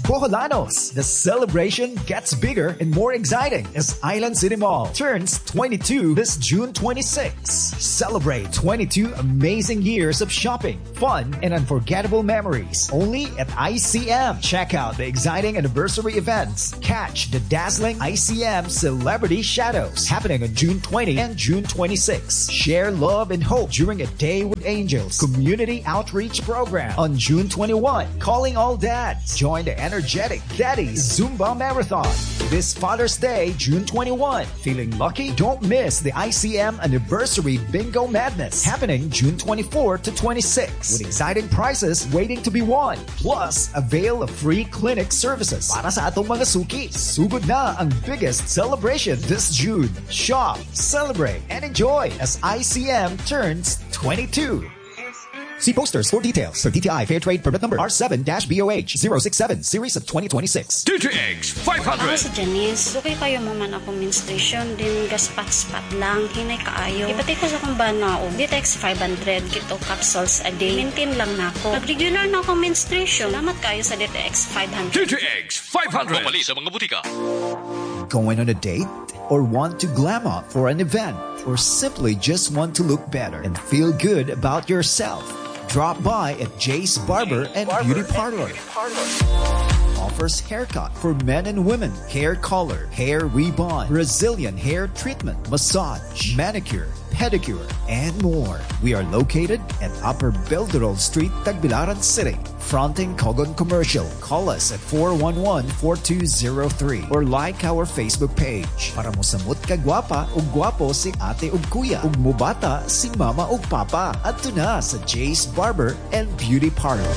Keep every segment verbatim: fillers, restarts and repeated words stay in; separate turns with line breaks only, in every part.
Boholanos, the celebration gets bigger and more exciting as Island City Mall turns twenty-two this June twenty-six. Celebrate twenty-two amazing years of shopping, fun, and unforgettable memories only at I C M. Check out the exciting anniversary events. Catch the dazzling I C M Celebrity Shadows happening on June twenty and June twenty-six. Share love and hope during a Day with Angels community outreach program on June twenty-one. Calling all dads. Join the energetic Daddy Zumba Marathon this Father's Day, June twenty-one. Feeling lucky? Don't miss the I C M Anniversary Bingo Madness happening June twenty-four to twenty-six with exciting prizes waiting to be won. Plus, avail of free clinic services para sa atong mga suki. Sugod na ang biggest celebration this June. Shop, celebrate, and enjoy as I C M turns twenty-two. See posters for details for D T I Fair Trade Permit Number R seven B O H zero six seven Series of twenty twenty-six.
D T X five hundred.
Ako si Janice. Dugay kaayo mahuman akong menstruation then ga-spot-spot lang. Hinay kaayo. Gipati ko sa akong bana og D T X five hundred keto capsules a day. Maintain lang nako. Nag-regular na akong menstruation. Salamat kaayo sa D T X five hundred.
D T X five hundred. Mapali sa mga butika.
Going on a date? Or want to glam up for an event? Or simply just want to look better and feel good about yourself? Drop by at Jay's Barber and Beauty Parlor. Offers haircut for men and women, hair color, hair rebond, Brazilian hair treatment, massage, manicure, pedicure, and more. We are located at Upper Belderol Street, Tagbilaran City, fronting Cogon Commercial. Call us at four one one, four two zero three or like our Facebook page. Para mosamot ka gwapa ug gwapo si ate ug kuya ug mubata si mama ug papa. Adto na sa Jay's Barber and Beauty Parlor.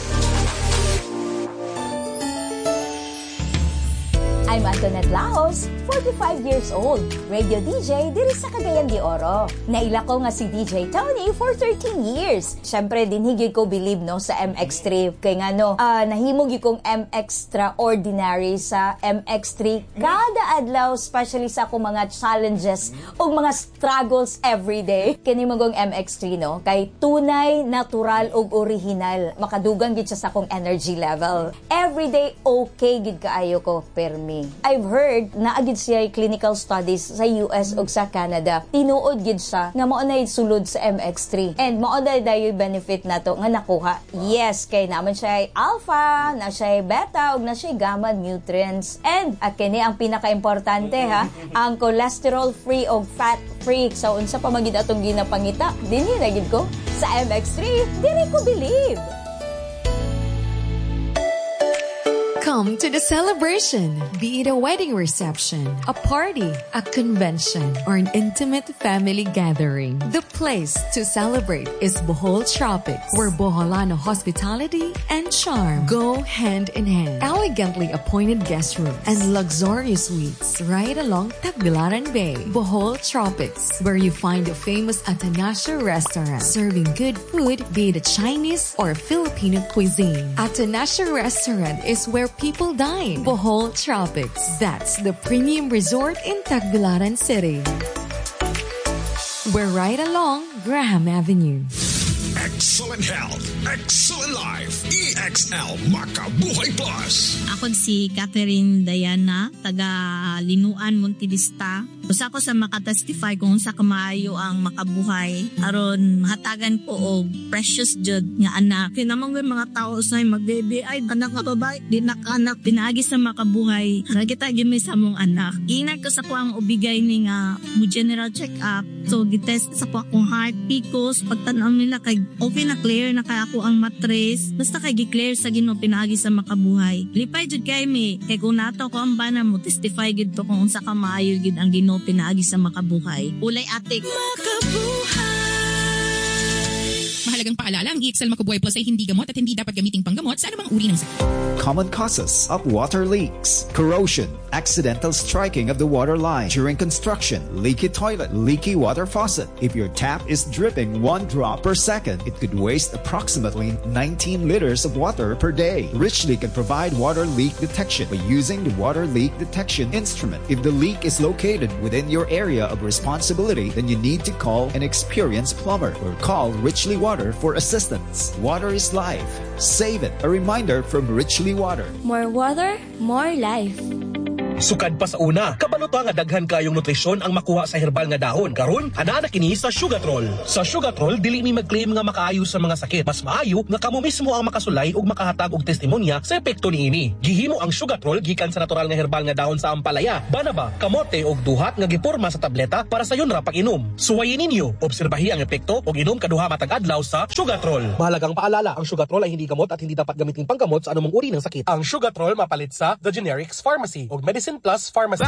I'm Antoinette Laos, forty-five years old, radio D J diri sa Cagayan de Oro. Naila ko nga si D J Tony for thirteen years. Siyempre, dinhi gyud ko believe no sa M X three. Kay nga no, uh, nahimo gyud kong M extraordinary sa M X three kada adlaw, especially sa akong mga challenges ug mga struggles every day. Kini magong M X three no, kay tunay, natural ug original. Makadugang gyud siya sa akong energy level. Every day okay gyud kaayo ko permi. I've heard naa gyud siya clinical studies sa U S ug sa Canada. Tinuod gyud siya nga mao na sulod sa M X three. And mao na dayoy benefit nato nga nakuha. Yes, kay naman siya ay alpha, na siya ay beta ug na siya gamma nutrients. And at kini ang pinaka-importante ha, ang cholesterol free ug fat free. So unsa pa man gyud atong ginapangita, dinhi na gyud ko sa M X three, diri ko believe.
Come to the celebration. Be it a wedding reception, a party, a convention, or an intimate family gathering. The place to celebrate is Bohol Tropics, where Boholano hospitality and charm go hand in hand. Elegantly appointed guest rooms and luxurious suites right along Tagbilaran Bay. Bohol Tropics, where you find the famous Atanasio Restaurant, serving good food, be it a Chinese or Filipino cuisine. Atanasio Restaurant is where people dine. Bohol Tropics. That's the premium resort in Tagbilaran City. We're right along Graham Avenue.
Excellent health, excellent life. E X L Makabuhay Plus.
Ako si Catherine Diana, taga Linuan, Montevista. Usa ko sa makatestify kung sa kamaayo ang Makabuhay aron mahatagan ko og precious jud nga anak.
Kinamang mga tao sa magbebe ay anak nga babae, di na anak.
Pinaagi sa Makabuhay, nakita gyud mi sa among anak. Giingnan ko sa akong ubigay ni nga mo general check up. So gitest sa ko akong heart, P C O S, pagtan-aw nila kay okay na, clear na kay ako ang matres. Basta kay gi-clear sa Ginoo pinaagi sa Makabuhay. Lipay jud kay mi kay kung nato ko ang bana mo testify gid to kung unsa ka maayo gid ang Ginoo pinaagi sa Makabuhay. Ulay atik.
Mahalagang paalala, ang E X L Makabuhay Plus ay hindi gamot at hindi dapat gamiting panggamot sa anumang uri ng sakit.
Common causes of water leaks: corrosion, Accidental striking of the water line during construction, leaky toilet, leaky water faucet. If your tap is dripping one drop per second, it could waste approximately nineteen liters of water per day. Richly can provide water leak detection by using the water leak detection instrument. If the leak is located within your area of responsibility, then you need to call an experienced plumber or call Richly Water for assistance. Water is life. Save it. A reminder from Richly Water.
More water, more life.
Sukad pa sa una, kabalo ta nga daghan kayong nutrisyon ang makuha sa herbal nga dahon. Karon, anaa na kini sa Sugatrol. Sa Sugatrol, dili mi mag-claim nga makaayo sa mga sakit. Mas maayo nga kamo mismo ang makasulay ug makahatag og testimonya sa epekto niini. Gihimo ang Sugatrol gikan sa natural nga herbal nga dahon sa ampalaya, banaba, kamote ug duhat nga giporma sa tableta para sayon ra pag-inom. Suwayin ninyo, obserbahi ang epekto ug inom kaduha matag adlaw sa Sugatrol. Mahalagang paalala, ang Sugatrol ay hindi gamot at hindi dapat gamitin panggamot sa anumang uri ng sakit. Ang Sugatrol mapalit sa The Generics Pharmacy ug Medicine Plus Pharmacy.